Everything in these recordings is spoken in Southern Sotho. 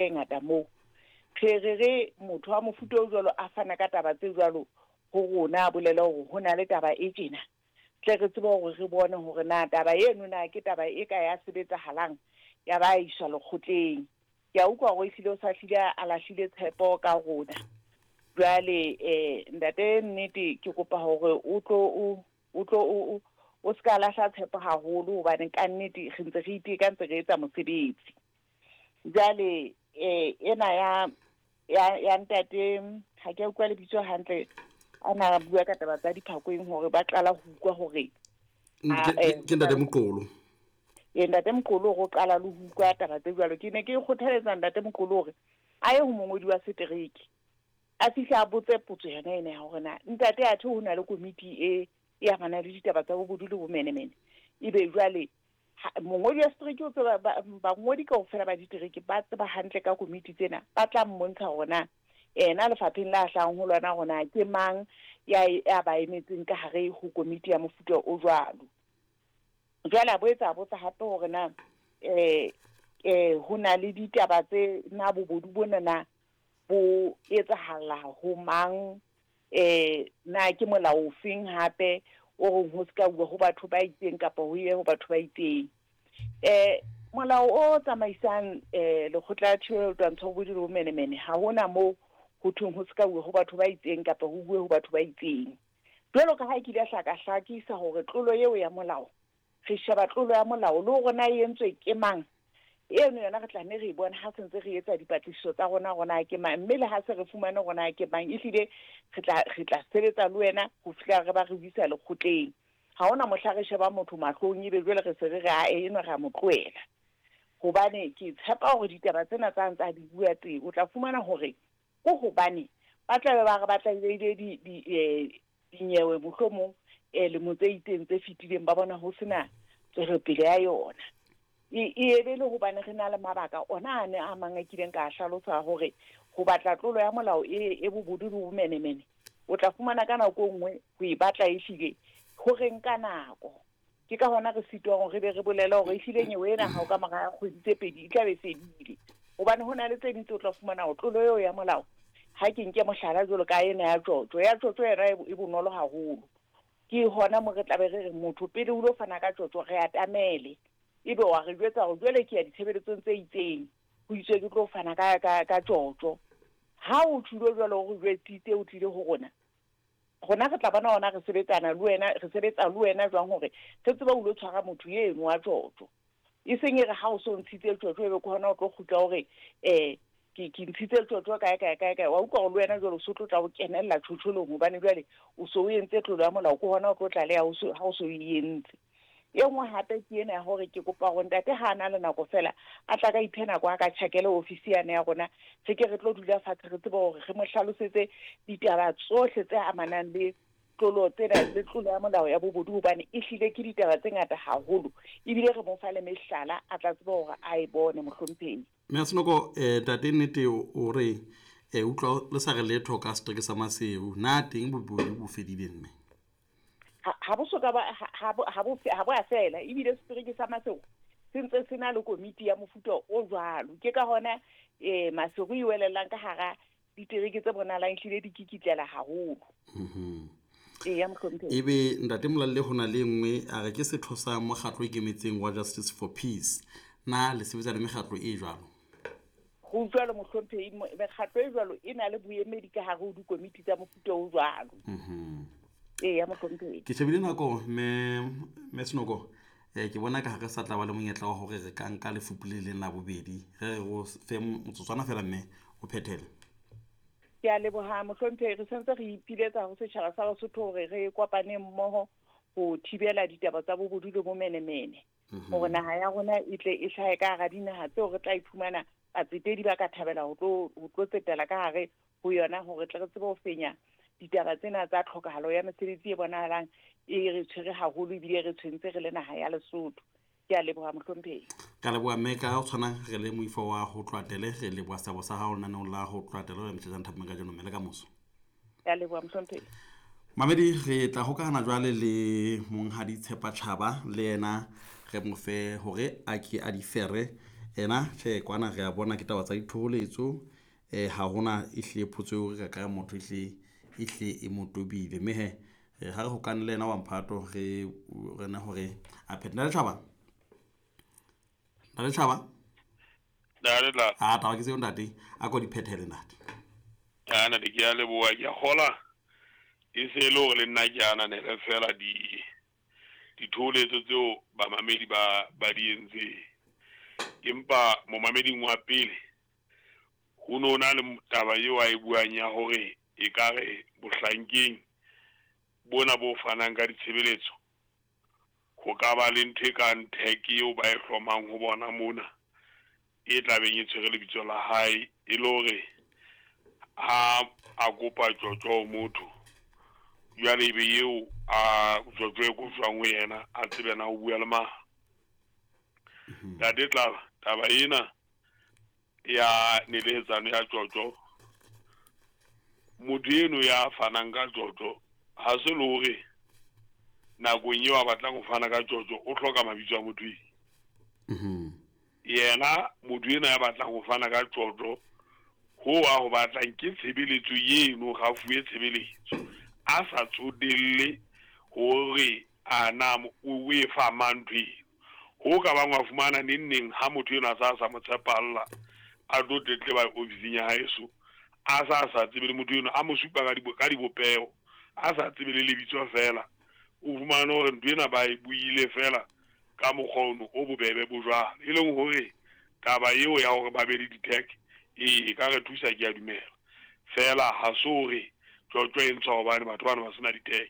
E ngata moo. Re re re motho wa mofuta o jwalo a fana ka taba tse jwalo ho rona, a bolele hore ho na le taba e tjena, tle re tsebe hore re bone hore na taba eno na ke taba e ka ya sebetsahalang ya ba iswa lekgotleng. Ke a utlwa hore ehlile o sa hlile a lahlile tshepo ka rona. Jwale ntate, nnete ke kopa hore o tlo o tlo o ska lahla tshepo haholo, hobane ka nnete re ntse re iteka, ntse re etsa mosebetsi. Jwale ena ya ntate, ha ke utlwa lebitso hantle, a na bua ka taba tsa diphakoeng hore ba qala ho utlwa hore ke ntate Moqolo. Ee, ntate Moqolo, hore o qala le ho utlwa taba tse jwalo. Ke ne ke kgothaletsa ntate Moqolo hore a ye ho mongodi wa setereke, a fihle a botse potso yona ena ya hore na ntate athe ho na le komiti e amanang le ditaba tsa bobodu le bomenemene. Ebe jwale mongodi wa setereke o tseba, bangodi kaofela ba ditereke ba tseba hantle ka komiti tsena, ba tla mmontsha hore na ena lefapheng la hlahang ho lona hore ke mang ya ba emetseng ka hare ho komiti ya mofuta o jwalo. Jwale a boetse a botsa hape hore na ho na le ditaba tse na bobodu bona na bo etsahalla ho mang, na ke molao ofeng hape o reng ho ska uwa ho batho ba itseng kapa ho ye ho batho ba itseng. Molao o tsamaisang lekgotla la thibelo twantsho bobodu le bomenemene, ha hona moo ho thweng ho ska uwa ho batho ba itseng kapa ho bue ho batho ba itseng. Jwalo ka ha ke ile hlaka hlakisa hore tlolo eo ya molao, re sheba tlolo ya molao le hore na e entswe ke mang, eno yona re tla nne re e bone ha se ntse re etsa dipatlisiso tsa rona hore na ke mang, mme le ha se re fumane hore na ke mang, ehlile re tla sebetsa le wena ho fihla re ba re isa lekgotleng. Ha hona mohla re sheba motho mahlong ebe jwale re se re re ae eno re a mo tlohela, hobane ke tshepa hore ditaba tsena tsa ntsa di bua teng, o tla fumana hore ko hobane ba tla be ba re ba tlalehile dinyewe mohlomong lemo tse itseng tse fetileng, ba bona ho sena tswelopele ya yona. E ebe le hobane re na le mabaka ona a ne a mang a kileng ka hlalosa hore ho batla tlolo ya molao e bobodu le bomenemene, o tla fumana ka nako e nngwe ho e batla ehlile ho re nka nako. Ke ka hona re sitwang hore re be re bolele hore ehlile nyewe ena ha o ka mora kgwedi tse pedi e tla be fedile, hobane ho na le tse ding tse o tla fumana hore tlolo eo ya molao, ha ke nke mohlala jwalo ka ena ya tjotjo, ya tjotjo yona e bonolo haholo. Ke hona mo re tla be re re motho pele o lo fana ka tjotjo re atamele, ebe wa re jwetsa hore jwale ke ya ditshebeletsong tse itseng, ho itswe ke tlo fana ka tjotjo. Ha o tlilo jwalo o re jwetsitse o tlile ho rona, rona re tla bona hona re sebetsana le wena, re sebetsa le wena jwang hore re tsebe ho lo tshwara motho eno wa tjotjo. E seng e re ha o so ntshitse tjotjo ebe ke hona o tlo kgutla hore ke ntshitse tjotjo kae kae kae kae, wa utlwa hore le wena jwale o so tlo tla o kenella tjhotjholong, hobane jwale o so o entse tlolo ya molao, ke hona o tlo tlaleha ha o so e entse. E nngwe hape ke ena ya hore ke kopa hore ntate ha a na le nako fela a tla ka iphe nako a ka tjhakele ofisi yane ya rona, re ke re tlo dula fatshe re tsebe hore re mo hlalosetse ditaba tsohle tse amanang le tlolo tsena le tlolo ya molao ya bobodu, hobane ehlile ke ditaba tse ngata haholo, ebile re mo fa le mehlala a tla tseba hore a e bone mohlomphehi. Mme Senoko, ntate nnete o re utlwa le sa re letho ka setereke sa Maseru, na teng bobodu bo fedile mme? Ha bo soka ba, ha bo, ha bo fe-, ha bo a fela, ebile setereke sa Maseru se ntse se na le komiti ya mofuta o jwalo. Ke ka hona Maseru e welellang ka hara ditereke tse bonahalang ehlile di kikitlela haholo. Eya, mohlomphehi. Ebe ntate Molalle ho na le nngwe a re ke setho sa mokgatlo o ikemetseng wa Justice for Peace, na le sebetsa le mekgatlo e jwalo? Ho jwalo mohlomphehi, mekgatlo e jwalo e na le boemedi ka hare ho dikomiti tsa mofuta o jwalo. Eya, mohlomphehi. Ke shebile nako mme Senoko, ke bona ka ha re sa tla ba le monyetla wa hore re ka nka lefupu le leng la bobedi, re re o fe motsotswana fela mme o phethele. Ke a leboha mohlomphehi, re sentse re ipiletsa ho setjhaba sa Basotho hore re kopane mmoho ho thibela ditaba tsa bobodu le bomenemene, hore naha ya rona e tle e hlahe ka hara dinaha tseo re tla iphumana batsetedi ba ka thabela ho tlo tsetela ka hare ho yona, hore tle re tsebe ho fenya ditaba tsena tsa tlhokahalo ya mesebetsi e bonahalang e re tshwere haholo ebile re tshwentse re le naha ya Lesotho. Ke a leboha mohlomphehi. Ka leboha mme, ka ho tshwana re le moifo wa ho Tlwatele, re leboha seabo sa hao lenaneong la ho Tlwatele le Mthetjane Thapong kajeno mme le ka moso. Ke a leboha mohlomphehi. Mamedi, re tla hokahana jwale le monghadi Tshepa Tjhaba, le yena re mo fe hore a ke a di fere Ena tjhe kwana re a bona ke taba tsa dithoholetso. Ha hona ehlile potso eo re ka ka motho ehlile ehlile e mo tobile. Mme he ha re hokane le yena wa mphato re rena hore a phethe. Ntate Tjhaba. Ntate Tjhaba. Ntate tla. A taba ke tseo ntate. A ko di phethele ntate. A ntate ke a leboha ke a kgola. E se e le hore le nna ke ananele fela di dithoholetso tseo bamamedi ba ba di entseng. Empa momameding wa pele ho no na le taba eo a e buang ya hore ekare bohlankeng bona bo fanang ka ditshebeletso ho ka ba le ntho e kang tag eo ba e hlomang ho bona mona e tlabeng e tshwere lebitso la hae e le hore ha a kopa tjotjo ho motho jwale ebe eo a tjotjo e kotjwang ho yena a tsebe na o bua le mang. Ntate Tlaba taba ena ya nelehetsano ya tjotjo motho eno ya fanang ka tjotjo ha se le hore nakong eo a batlang ho fana ka tjotjo o hloka mabitso a motho eno. Yena motho ena ya batlang ho fana ka tjotjo ho a ho batlang ke tshebeletso eno ga fuwe tshebeletso a sa tsotelle hore a na o e fa mang ntho eno. Ho ka bang wa fumana neng neng ha motho eno a sa mo tshepalla a tlo tletleba ofising ya haeso a sa tsebe le motho eno a mo supa ka dibopeho a sa tsebe le lebitso fela o fumane hore ntho ena ba e buile fela ka mokgwa ono o bobebe bo jwalo. E leng hore taba eo ya hore ba be le di-tag e ka re thusa ke a dumela. Fela ha se hore tjotjo e ntshwa hobane batho bana ba sena di-tag.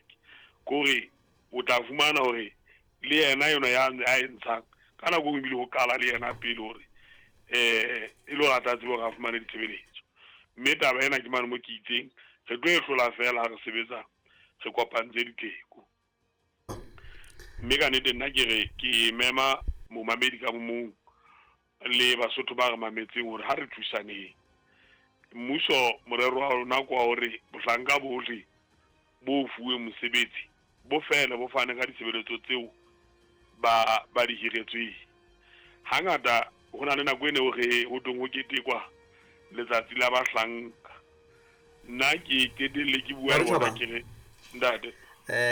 Kore o tla fumana hore le yena yona ya a e ntshang ka nako e ebile ho qala le yena pele hore e le hore a tla tsebe hore a fumane ditshebeletso. Mme taba ena ke mane mo ke itseng re tlo e hlola fela ha re sebetsa re kopantse ditheko. Mme ka nnete nna ke re ke mema momamedi ka mong le Basotho ba re mametseng hore ha re thusaneng. Mmuso morero wa rona ke wa hore bohlanka bohle bo fuwe mosebetsi bo fele bo fane ka ditshebeletso tseo ba di hiretsweng. Hangata ho na le nako e ne re ho teng ho ketekwa letsatsi la bahlanka. Nna ke qetelle ke bua le bona ke re ntate.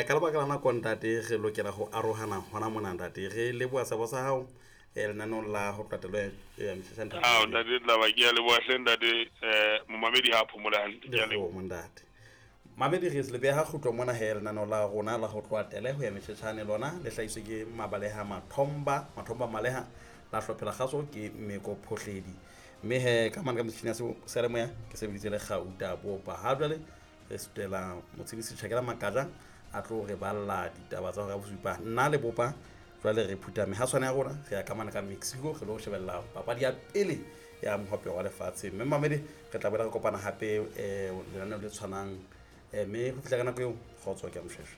Ka lebaka la nako ntate re lokela ho arohana hona mona ntate. Re leboha sebo sa hao lenaneong la ho qetelo ya mehla ntate. Ah ntate Tlaba ke a leboha hle ntate momamedi ha phomole hantle ke a leboha ntate. Mamedi re se le beha kgutlo mona he lenaneo la rona la ho tloha tele ho ya mehletjhane lona le hlahiswe ke Mabaleha Mathomba Mathomba Maleha la hlophela kgaso ke Meko Phohledi. Mme he ka mane ka metjhini ya seyalemoya ke sebeditse le Gauta Bopa. Ha jwale re sutela motshedisi Tjhakela Makaja a tlo re balla ditaba tsa hora ya bosupa. Nna le Bopa jwale re phutha mehaswane ya rona re ya ka mane ka Mexico re lo shebella papadi ya pele ya mohope wa lefatshe. Mme mamedi re tla boela re kopana hape lenaneo le tshwanang mme ho fihla ka nako eo kgotso ke a moshweshwe.